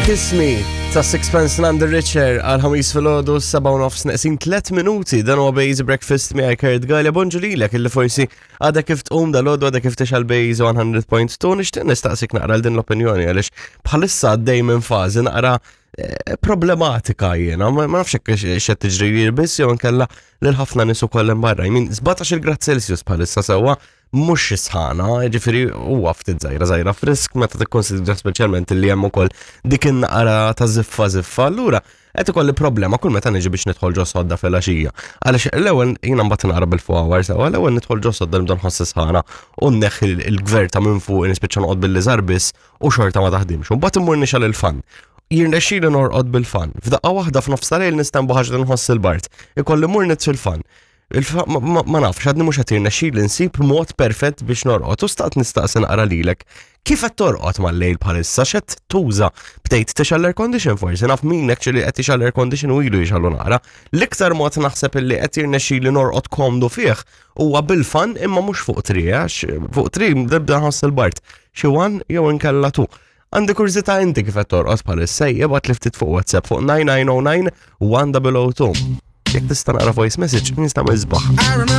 Kiss Me ta' Sixpence None the Richer għal ħamis filgħodu 7 u nofs neqsin 3 minuti dan huwa Bejz Breakfast miegħi Kurt Galea bonġu lilek illi forsi għadha kif tqum dal-għodu għadha kif tixgħal Bejz 100.2 nixtieq nistaqsik naqra l din l-opinjoni għaliex bħalissa għaddej minn fażi naqra eh, problematika jiena, ma nafx hekk x'qed tiġri biss jew inkella lil ħafna nies ukoll hemm barra. Jmin 17 grad Celsius bħalissa sewwa mhux xi sħana, jiġifieri huwa ftit żgħira żgħira frisk meta tikkonsidra speċjalment li hemm ukoll dik in-naqra ta' ziffa ziffa. Allura qed ikolli problema kull meta niġi biex nidħol ġo sodda filgħaxija. Għaliex l-ewwel jiena mbagħad naqra bil-four sewwa l-ewwel nidħol ġo sodda nibda nħoss sħana u nneħħi l-gverta minn fuq nispiċċa noqgħod bil-liżar biss u xorta ma taħdimx. U mbagħad immur nixgħal il-fan. Jirnexxieli norqod bil-fan. F'daqqa waħda f'nofs tal-lejl nistenbu ħaġa nħoss il-bart. Ikolli mur nitfi l-fan. Ma nafx, għadni mhux qed jirnexxili nsib mod perfett biex norqod u staqt nistaqsi naqra lilek. Kif qed torqod mal-lejl bħalissa x'qed tuża? Bdejt tixgħal air condition forsi naf min actually qed tixgħal air condition u ilu jixgħalu naqra. L-iktar mod naħseb illi qed jirnexxili norqod komdu fih huwa bil-fan imma mhux fuq tri għax fuq tri nibda nħoss il-bart. Xi one jew inkella tu. Għandi kurżità inti kif qed torqod bħalissa jibgħat li ftit fuq WhatsApp fuq 9909 1002. Jekk tista' naqra voice message, nista' isbaħ.